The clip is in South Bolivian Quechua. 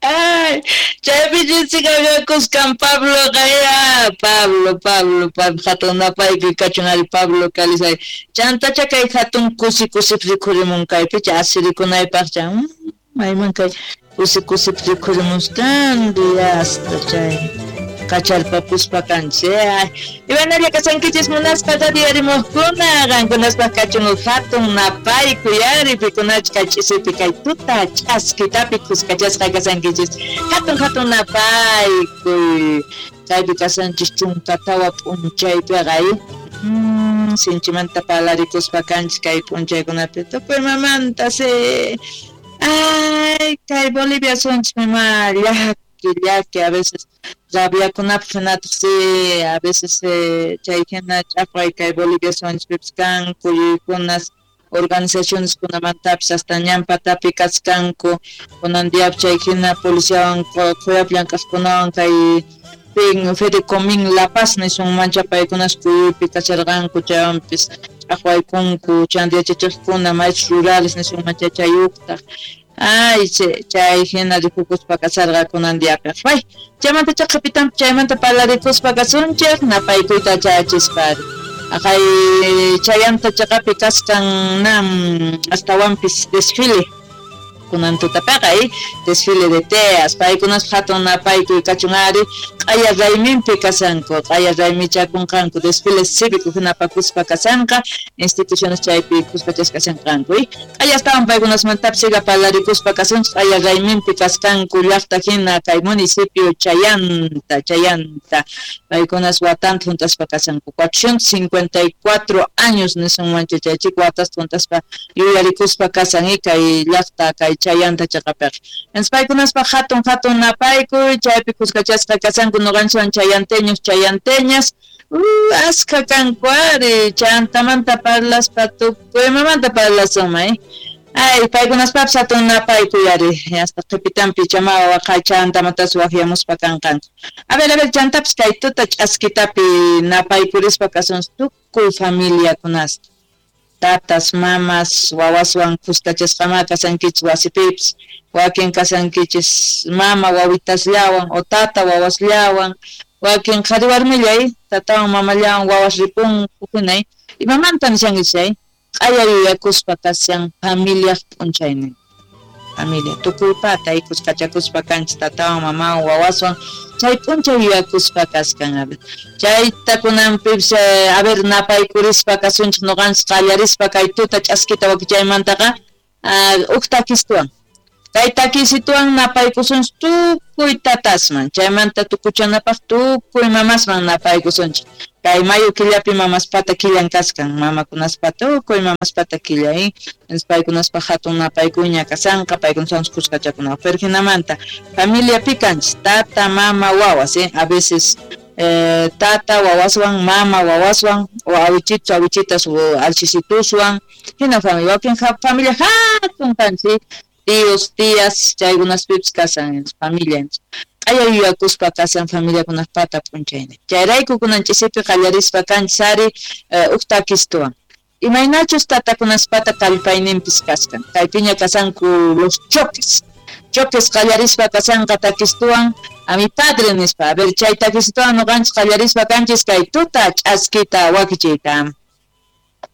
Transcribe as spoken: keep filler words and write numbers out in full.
Ay, chaypi chinchikakuskan Pablo kaya, Pablo, Pablo, Pablo, hatun napaykuy kachun ari Pablo kalisay. Chantacha kay hatun kusi kusip rikhurimun kaypicha asirikunaypaqcha, mayman kay kusi kusip rikhurimuskan hasta chay kacharpapuspa kanchik. Imanalla kasankichis munaspa radiarimuqkuna, qankunaspaq kachun hatun napaykuy ari pikunach kay ch'isipi kay tuta ch'askitapi kuskachasqa kasankichis. Hatun hatun napaykuy kaypi kasanchis chunka tawa p'unchaypiqa mm, sinchimanta parlarikuspa kanchik kay p'unchaykunapi tukuy mamanta si. Ay, kay Bolivia sunchis mama llaki llaki a veces rabiakunapaq hinataq si a veces chay hina ch'aqway kay Bolivia sunchispipis kanku yuykunas organizaciones kunamantapis hasta ñanpatapi kaskanku kunan diapi chay hina policiawan qhuyapi llank'aqkunawan kay pin Fedecomín La Paz nisunmancha paykunas kuyuypi kasharqanku chaywanpis ch'aqwaykunku chanta yachachiqkuna maestros rurales nisunmancha chayuqtaq. Ay, chay hina rikukuspa kasarqa kunan diapiq. Ay, chaymanta chaqapitan chaymanta parlarikuspa kasunchik napaykuyta chayachispa. Aqay chayanta chaqapi kaskan nam astawanpis desfile kunan tutapiqa desfile de teas paykunas hatun napaykuy kachun ari q'aya rayminpi kasanku q'aya raymichakunqanku desfile cívico hinapakuspa kasanqa instituciones chaypi kuskachasqa kasanqanku q'aya astawan paykunasmantapis siga parlarikuspa kasunchik q'aya rayminpi kaskanku llaqta hina kay municipio Chayanta Chayanta paykunas watanta juntaspa kasanku cuatrocientos cincuenta y cuatro años nisunmancha chay chik watasta juntaspa yuyarikuspa kasan kay llaqta kay Chayanta chaqapiqa. Entonces paykunaspaq hatun hatun napaykuy chaypi kuskachasqa kasanku nuqanchikwan chayanteños chayanteñas uh, askha kanku ari chantamanta parlaspa tukuy imamanta parlasunman eh. Ay, paykunaspapis hatun napaykuy ari hasta qhipitanpi chamawa waqay chantamantas waqyamuspa kanqanku. A ver, a ver, chantapis kay tuta ch'askitapi napaykurispa kasunchik tukuy familiakunasta. Tatas, mamas, wawaswan kuskachasqama kasankichis wasipipis, wakin kasankichis mama wawitasllawan o tata wawasllawan, wakin qhari warmillay, tatawan mamallawan wawas ripunku hinay. Imamanta nishankichis chay? Q'aya yuyakuspa kashan familiaq p'unchaynin. Familia tukuypata kuskachakuspa kanchis tatawan mamawan wawaswan chay p'unchay yuyakuspa kaskan. A ver, chayta kunanpipis a ver napaykurispa kasunchik nuqanchik qallarispa kay tuta ch'askita wakichaymantaqa huk takistuwan kay takisituwan napaykusunchik tukuy tatasman chaymanta tukuchanapaq tukuy mamasman napaykusunchik kay mayo killapi mamaspata killan kaskan mamakunaspata tukuy mamaspata killa eh entonces paykunaspaq hatun napaykuyña kasanqa paykunawan kuskachakunapaq pero hinamanta familiapi kanchis tata mama wawas eh a veces eh, tata wawaswan mama wawaswan o awichitos awichitas o alchisituswan hina familia wakin familia hatun kanchis tíos, tías, chaykunaspipis kasan familia. Q'aya yuyakuspa kasan familiakunapata p'unchaynin. Chayrayku kunan ch'isipi qallarispa kanchis ari huk takistuwan. Imaynachus tatakunaspata kallpayninpis kaskan. Kaypiña kasanku los choques. Choques qallarispa kasanqa takistuwan a mi padre nispa. A ver, chay takistuwan nuqanchis qallarispa kanchis kay tuta ch'askita wakichiyta.